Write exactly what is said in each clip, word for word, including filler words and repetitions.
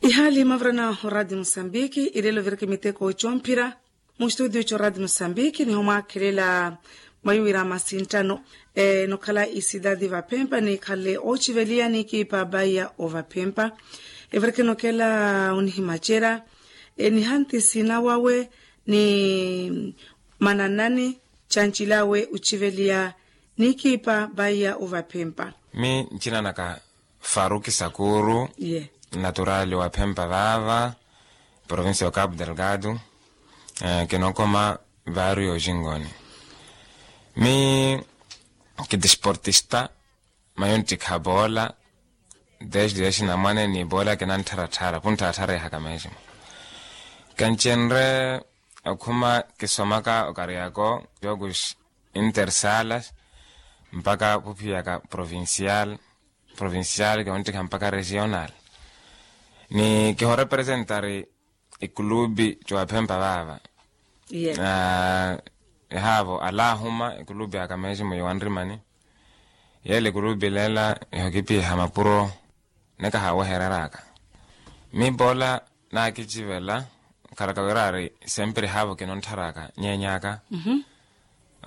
Ihaali mavirana oradio musambiki ilelo viriki miteko comphira. Mustutio coradio musambiki niho mwaakhelela mwayiwira masinttano enokhala isidadi vaphempa nikhalle ociveliya nikipa baiya ovaphempa. Eviriki enokela onihimacerya enihanti sinawawe ni mananani cancilawe ociveliya nikipa baiya ovaphempa. Mi ncina naka faruki sakuru. Ye. Naturali wa phempa vava provincia ya cabo delgado. Kinokoma vario jingoni mi kidisportista. Mayo nttikha bola desde ya xinamwane ni bola kinanttharatthara punttharatthara ehaka mesmo. Kancenre okhuma kisomaka okariako jokus intersalas mpaka phuphiyaka provincial provincial kionttikha mpaka regional. Ni kihorepresentari ikulubi cowaphempa vaava. Ehaavo alahuma ikulubi aka mesmo yowanrimani yele ikulubi lela ihokipiha mapuro nekahawehereraka. Mi bola nakicivela kharaka wira ari sempre haavo kinontharaka nyenyaka.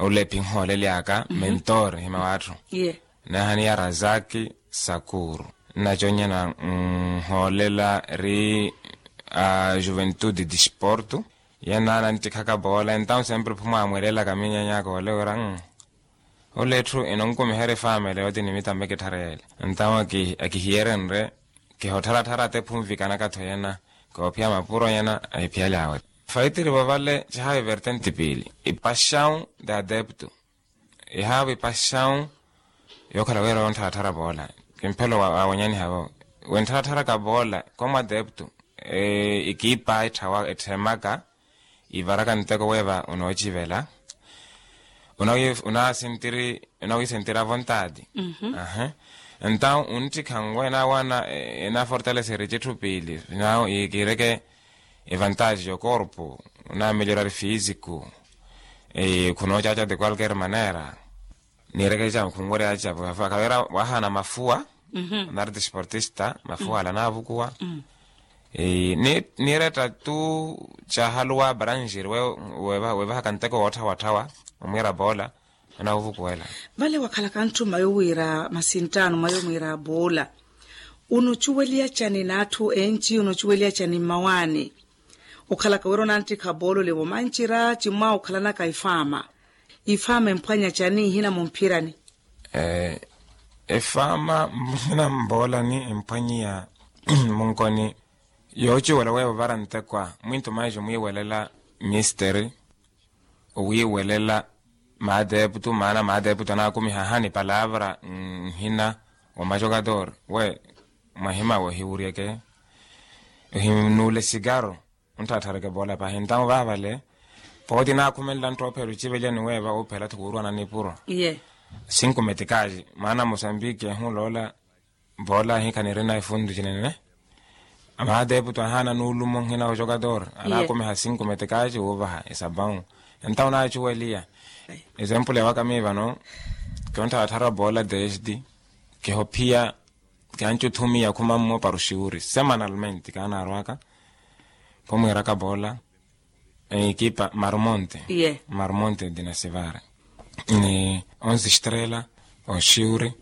Ule ephinhooleli aka mentor hima watthu. Nahaniya razaki sakuru naconyana nhoolela ri a juventude disporto. Ye naana nttikhaka bola entaw sempre phumwamwelelaka minyenyaka ole wira ule etthu enonkumiherya efamela yooti ni mittambe kitthareyele. Entaw akihiyeryenrye kihottharatthara atte phunvikanaka-tho yena koophiya mapuro yena ahiphiyalyawe. Faitiri vovale cihawi vertenti piili ipaxaw de adepto. Ihaavo ipaxaw yookhala wira onttharatthara boola kimphelo wa wanyaniha vo wenttharattharaka boola komu adepto. Ikipa etthawa etthemaka ivaraka nteko weeva onoocivela. Unawisentira vontadi. Entaw unttikha nwe nawana enafortaleseri citthu piili nawo ikireke evantaji yokorpo unamelhorari fisiku. Khunoocaca de qualquer manera. Niireke camu khunwerya camu kavira wahana mafuwa nari disportista mafuwa ala navukuwa. Niiretta tu cahaluwa branjiri wevahaka nteko wootthawatthawa omwiira boola. Anahuvukuwela vale wakhalaka ntthuma yowiira masinttaano mwa yomwiira boola. Unocuweliya cani n'atthu enci unocuweliya cani mmawaani? Okhalaka wira onanttikha boolole vomancira cimmwa okhalanaka ifaama. Ifaama emphwanya cani ihina mumphirani? Efaama ihina mboolani emphwanyiya munkoni. Yoocuwela weevo vara ntekwa mwinthu maijo mwiiwelela misteri owiiwelela. Maateeputu maana maateeputu anaakumiha ahani palavra nhina wa majokator we mwahimawe ohiwuryeke ohinuule sikaro. Ontthatthareke poola pahi entamu vaavale pooti naakhumenla nttoophela ociveja ni weeva oophela-tho kuurwana nipuro. Cinco metikaji maana mosambiki ehuloola. Poola ahikha nirina efuntu cinene. Amaateeputu ahaana nuulumo nhina ojokator anaakumiha cinco metikaji wuuvaha esapawu. Entamu naacuweliya. Esempule waka mii vano kionttharattharwa poola desde kihophiya. Kianci othumiya khumammo para oxiwuri semanalmente kaanaarwaka. Khumwiiraka poola ekipa marmonte. Marmonte dinasivare ni onze estrela oxiwuri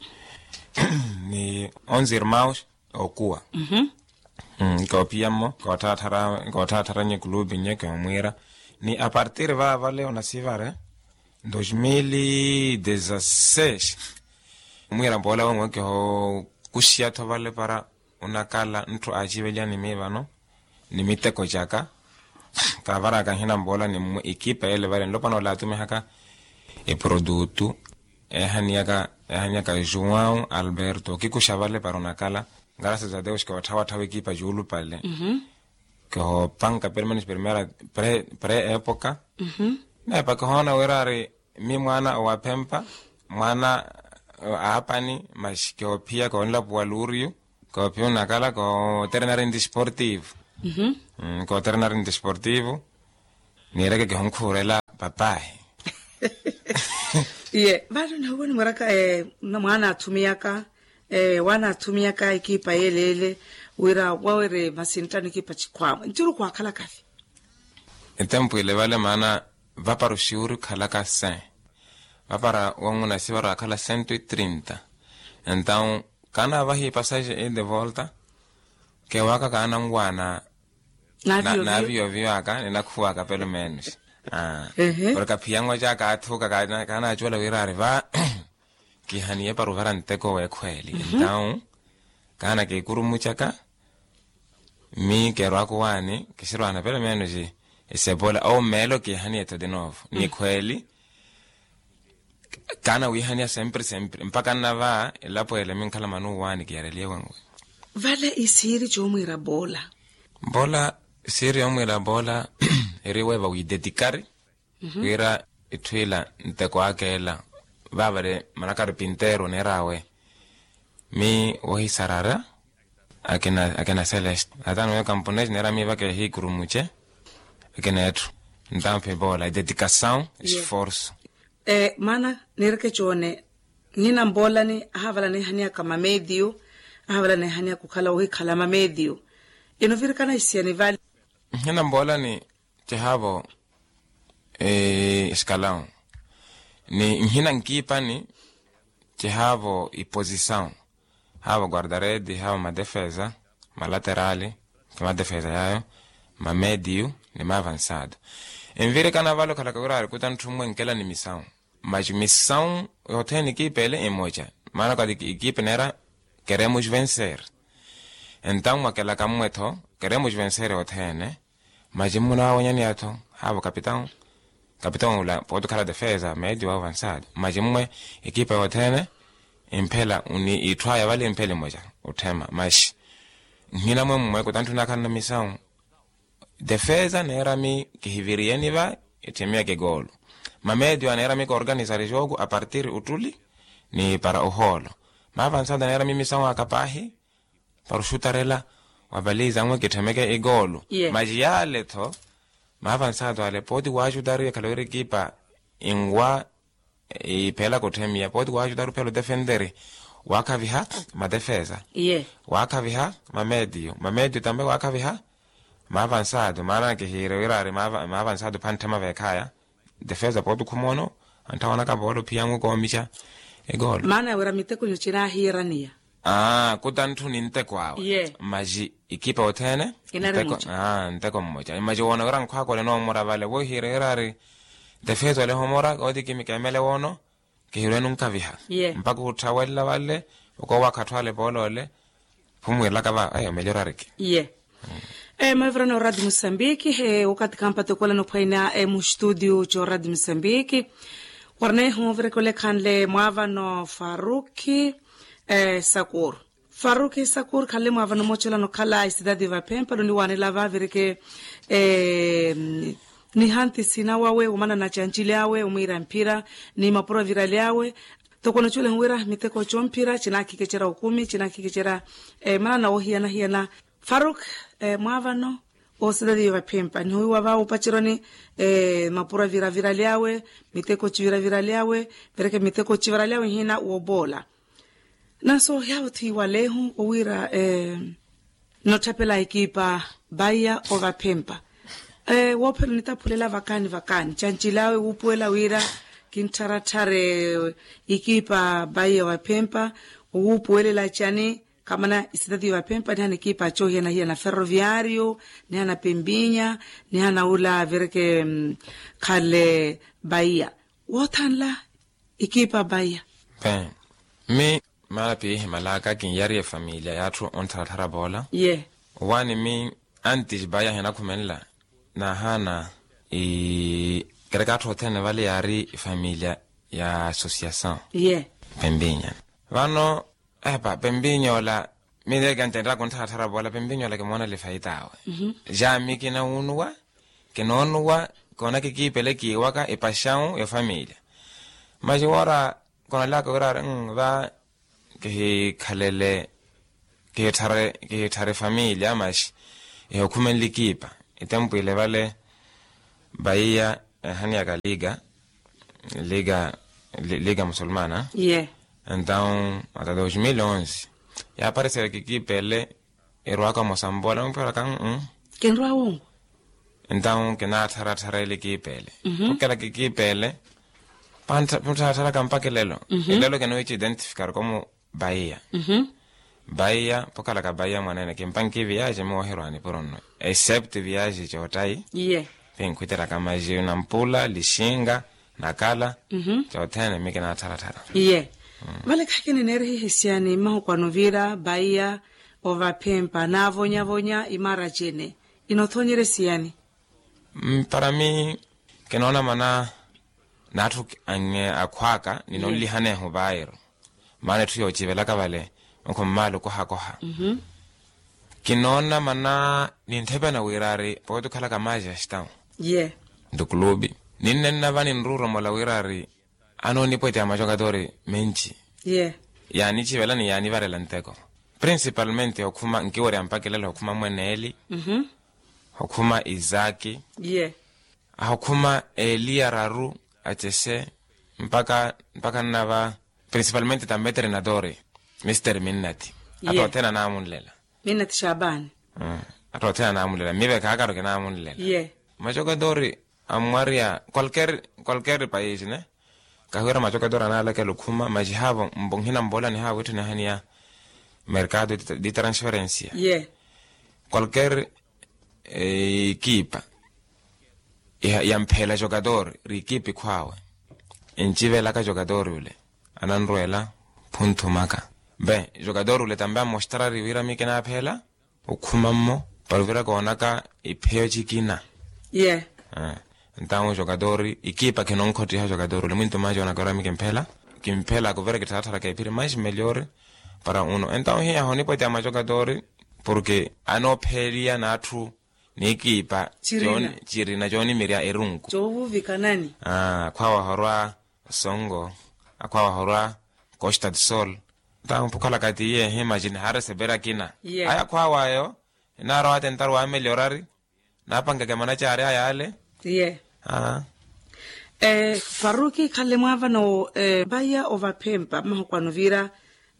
ni onze irmaus okuwa. Koophiyammo kootthattharanye kulupi nye kiomwiira ni apartir vaavale onasivare dos mil e dezasseis. Omwiira poola wonwe kihookuxiya-tho vale para onakala ntthu aaciveliya ni mii vano ni miteko caka. Kaavaraka nhina mpoola ni mwe ekipa ele vale nlopwana ole aatumihaka eprodutu eehaniyaka joão alberto okikuxa vale para onakala. Ngarasas a deus kootthawatthawa ekipa juulupale. Kihoopanka permenos primera pre epoka. Neepa kihoona wira ari mi mwaana owaphempa mwaana aapani masi koophiya koonlapuwa luuriyu. Koophiya onakala kooterenari nti sportivo. Kooterenari nti sportivo. Niireke kihonkhuurela papahi. Iye vale onahuwa onimweraka mwaana aathumiyaka waana aathumiyaka ekipa yeeleele. Wira wawe ri masinttani ekipa cikhwaawe nttiru khwaakhalaka-vi. Etempu ile vale maana vapara oxiwuri okhalaka sen vapara won'una sivara akhala cento e trinta. Entawu kaana vahi pasaje e de volta. Kewaaka kaana nwaana naaviyoviyo aka ninakhuwaka pelo menos. Porke aphiyango caka athuka kaana kaana acuwela wira ari va kihaniye para ovara nteko wekhweli entawu kaana kikurumucaka. Mi kerwaku waani kisirwaana pelo menos. Esebola ou meelo kihaniye tho de novo ni khweli. Kaana wihaniya sempre sempre mpaka nnava elapo ele minkhala manuwaani kiyareliye wenwe. Vale isiiri coomwiira boola. Boola isiiri yoomwiira boola eri weeva wiidetikari wira itthu ila nteko aka ela. Vaavale manakari pinteero neer'awe mi wohisarara akina celeste ataano yo kamponesi neera miiva keehiikurumuce. Akina etthu ntampe boola ededikasawu esforso. Maana niireke coone nhina mboolani ahaavala neehaniyaka mametiyo ahaavala neehaniyaka okhala ohikhala mametiyo. Ino virikana isiyani vale. Nhina mboolani cihaavo esikalawu ni nhina nkiipani cihaavo iposisawu. Haavo guardaredi haavo madefesa malaterali kimadefesa yaayo mamediyu ni maavansado. Envirikana vale okhalaka wira ari kuta ntthu mmwe nkela ni misawu maci misawu yothene ekipa ele emoca. Maana okati ekipa neera keremos vencer. Entawu mwakelaka mmwe-tho keremos vencer othene. Maci mmunaawanyaniya-tho haavo kapitão kapitão ula pooti okhala defesa medio avansado maci mmwe ekipa yothene. Imphela ni itthu aya vale imphela emoca otthema maxi nhina mwe mmwe kuta ntthu nakhalana misawu. Defesa neerami kihiviriyeni va etthemiyaka egoolo mamedio aneerami koorganisari jooku apartir ottuli ni para ohoolo. Maavansado aneerami misawu aka paahi para oxutarela wapaliza nwe kitthemeke egoolo. Maci yaale-tho maavansado ale pooti waaxutari ekhala wira ekipa inwa iphela kotthemiya pooti waaxutari ophela otefenteri waakhaviha madefesa waakhaviha mametiyo mametiyo tampe waakhaviha. Maavansado maana kihiire wira ari maavansado pantthema veekhaya defesa pooti okhuma ono antthawonaka pooti ophiya nwe koomixa egoolo. Maana wira mitekunyo cinaahiiraniya kuta ntthu ni nteko awe maxi ikipa othene nteko mmoca maxi woona wira nkhwaakole noomura vale wohiire wira ari defesa ole ehomora kooti kimikemele woono kihirwenu nkaviha mpaka otthawelela vale okowakha atthu ale poolole phumwiirelaka va ayo melhor ariki. Mavirana oradi musambiki okathi kampata okolana ophwaina mustudio c'oradi musambiki. Warnehu ovireke olekhanle mwaavano faruki sakur. Faruki sakur khanle mwaavano moocelana okhala esidadi vaphempa loniwaanela vavireke nihanti sina wawe omanana cancili awe omwiira mphira ni mapuro avirali awe. Toko nocuwelehu wira miteko comphira cinaakhikecerya okumi cinaakhikecerya manana oohiyana-hiyana. Faruk, mwaavano osidadi vaphempa nihowiwa va opaceroni mapuro aviravirali awe miteko civiravirali awe. Vereke miteko civirali awe nhina woboola. Nanso yaawo thiiwalehu owiira notthapela ekipa baiya ovaphempa. Woophela onitaphulela vakaani vakaani cancili awe wuupuwela wira kinttharattharye ekipa baiya ovaphempa. Owuupuwelela cani? Khamana isitati yovaphempa nihana ekipa coohiyana-hiyana ferroviario nihana pempinya nihana ula avireke khale baiya woothanla. Ekipa baiya pe mi maana piihimalaka kinyariye efamiliya y'atthu onttharattharapoola. Ye owaani mi anti baiya hinakhumenla naahaana kereka atthu othene vale yaari efamiliya ya associação. Ye pempinya vano epa pempinya ola miileke antettaka onttharattharapoola pempinya ola kimoonela efaita awe. Jaami kinawuunuwa kinoonuwa koona kikiipele kiiwaka epaxawu efamiliya. Maxi woora koonelaka wira ari va kihikhalele kihitthare kihitthare efamiliya maxi ehikhumenle ekipa. Etempu ile vale vaiya ehaniyaka liga liga liga musulmana. Entawu ata dos mil onze yaapariseriwa kikipa ele erwaka mosambola mupiraka. Kinrwa wongo. Entawu kinaattharattharela ekipa ele. Okela kikipa ele. Panttharatharaka mpaka elelo. Elelo kinowiici identifikar komu. Baiya. Baiya pokhalaka baiya mwanene kimpanki viyaji miwoherwani puro nno. Except viyaji coottayi. Iye. Pinkhwitteraka maji nampula lixinga nakala. Coothene mi kinaattharattharaka. Iye. Vale khakini neerihihi siyani mmahukwano vira baiya ovaphempa naavonyavonya imaracene. Inothonyerye siyani? Para mi kinoona mana n'atthu akhw'aka ninonlihanehu vairu. Maana etthu yoocivelaka vale onkho mmaala okohakoha. Kinoona mana nintthepana wira ari pooti okhalaka maaja stawu. Ntukulupi ninnenna va ninruuromola wira ari anoonipweteya majokatori menci. Yaanicivelani yaanivarela nteko principalmente okhuma nkiwerya mpakilelo okhuma mweneeli. Okhuma isaki. Ahokhuma eeli araru acese mpaka mpaka nnava principalmente tambe treinadori. Mister minnati. Attothene anaamunlela. Minnati xapaani. Attothene anaamunlela mivekhaakaru kinaamunlela. Majokatori ammwariya qualquer qualquer paisi ne. Kahiwira majokatori anaalakela okhuma majihaavo mbo nhina mbola nihaavo etthu nihaniya mercado di transferencia. Qualquer ekipa yampheela jokatori ri ekipa ikhw'awe encivelaka jokatori ole ananrweela phunthumaka. Be jokatori ole tambe ammostarari wira mi kinaapheela okhuma mmo para ovira koonaka ipheyo cikina. Entawu jokatori ekipa khinonkhottiha jokatori ole mwinto maaja onaka wira mi kimpheela kimpheela kuvira kittharatharaka ephiri mais melhor para uno entawu hiyaho onipweteya majokatori porke anoopheeliya n'atthu n'ikiipa cirina coonimirya erunku. Akhwaawa ahorwa osongo akhwaawa ahorwa costa do sol. Ntampukhalaka tiye ehimajini haaresepera akina aya akhwaawa ayo. Enaarowata entaru waameliorari naapankeke manacaari aya ale. Faruki khale mwaavano vaya ovaphempa mmahokwano vira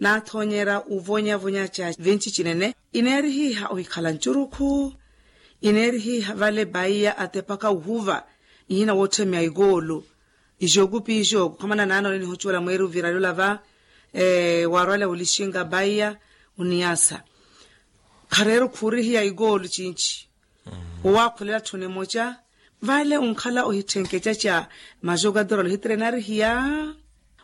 naathonyera ovonyavonya ca vinci cinene ineerihiha ohikhala ncurukhu. Ineerihiha vale baiya atepaka ohuva ihina wootthemiya ikoolo. Ijoku pi ijoku khamana naana ole nihocuwela mweeri ovirali olava waarwale olixinga baiya oniyasa khareera okhuurihiya ikoolo cinci. Owaakhulela tthuni emoca vale onkhala ohitthenkececa majokatori ole ohitrenarihiya.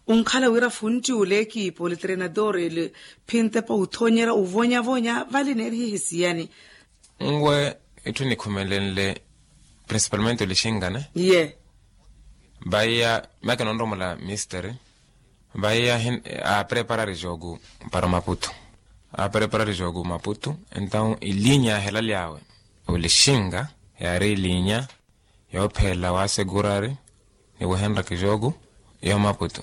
Onkhala wira funtti ole ekipa ole trenador ele phintepa othonyera ovonyavonya vale neerihihi siyani? Nwe itthu nikhumelenle principalmente olixingane. Ye vaiya make nonromola misteri. Vaiya apreparari jogu para maputu. Apreparari jogu maputu entawu ilinya yaahelaly'awe olixinga yaari ilinya yoophelela waasekurari ni wehenraka ejooku yo maputu.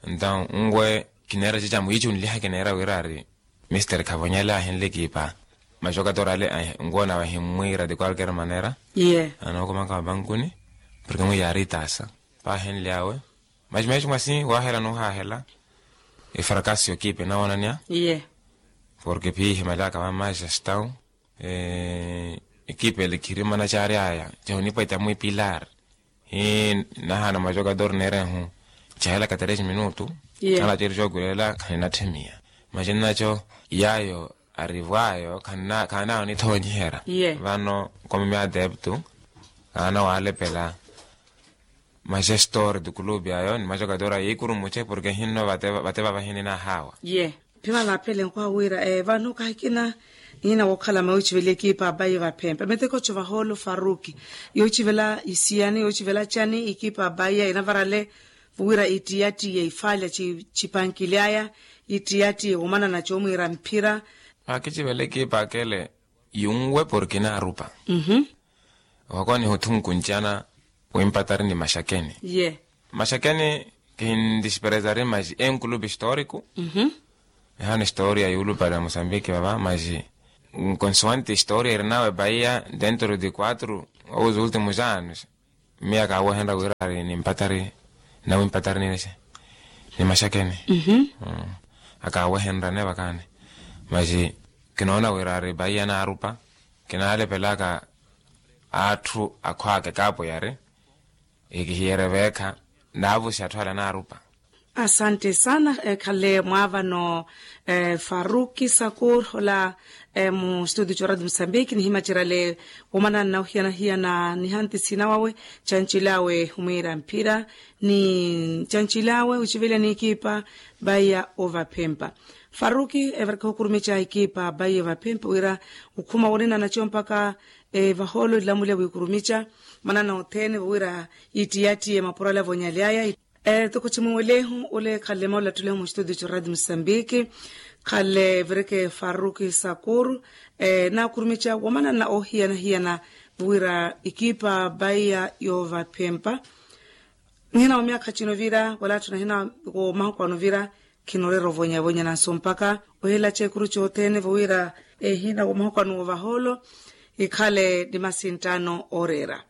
Entawu nwe kineera cica mwiici onliha kineera wira ari misteri khavonyale ahinle ekipa. Majokatori ale nwe nawe ahimmwiira ti kwalker manera. Anookumaka mapankuni porke mwiici yaari itaasa paahenly'awe. Maci meeco mwasi waahela n'uhaahela efarakasi y'okipa enawoonanya. Porke phiihimaly'aka va manchester town ekipa ele khiri manacaari aya cahunipweta mwipilar. Hii nahaana majokatori neerehu cahelaka tres minutu. Khalaceri cookulela khaninatthemiya. Maci nnaco yaayo arivw'ayo khaanaawo nithoonyiherya. Vano komi mia adeptu khaana waalepela majestori tukulupi ayo ni majokatori ayo yiikurumuce porke hinno vate vavahinina ahaawa. Ye phimala aphele nkwaha wira vano kahikina nihina wookhala mawiicivela ekipa abayi vaphempe meteko co vahoolo faruki yoocivela isiyani yoocivela cani ekipa abayi inavarale vuwira itiyatiye ifaalya cipankili aya itiyatiye womanana coomwiira mphira. Akicivela ekipa akele yunwe porke inaarupa. Ohakoniha othunku ncana wimpatari ni maxakeni. Maxakeni kihindisperezari maxi enkulupi historiku. Ehana historia yuulupale ya mosambiki vava maxi nkonsuwante historia erinawe baia dentro de quatro ou os ultimos anos. Miya akaawehenra wira ari nimpatari nawimpatari ni maxakeni. Akaawehenra ne vakani maxi Kinoona wira ari vaiya naarupa, kinaalepelaka atthu akhwaka ekaapo yari, ikihiyerye veekha, naavusi atthu ala naarupa. Asante sana. Khale mwaavano, faruki sakur ola, mu studio co radio musambiki nihimacerale, womana nauhiyanahiyana nihanti sina wawe, cancilawe humwiira mphira, ni cancilawe wiciveliya ni ekipa, vaiya ovaphempa. Faruki, evareke ohukurumica ekipa vaiya ovaphempa wira, okhuma wonina naco mpaka, vahoolo ilamuliya wikurumica, manana othene vowira, ittiyattiye mapuro ala vonyalyaya. Toko cimuwelehu ole khale maulattule mu studio co radio musambiki, khale vireke faruki sakur, nakurumica womanana ohiyanahiyana, vowira ekipa vaiya yovaphempa. Nihina wa myakha cino vira wala atthu nahina, wa mahuku ano vira, khinoreera ovonyavonya nanso mpaka, ohelaca ekuru cothene vowira, ehina wa mahuku ano wovahoolo, ikhale ni masinttano ooreera.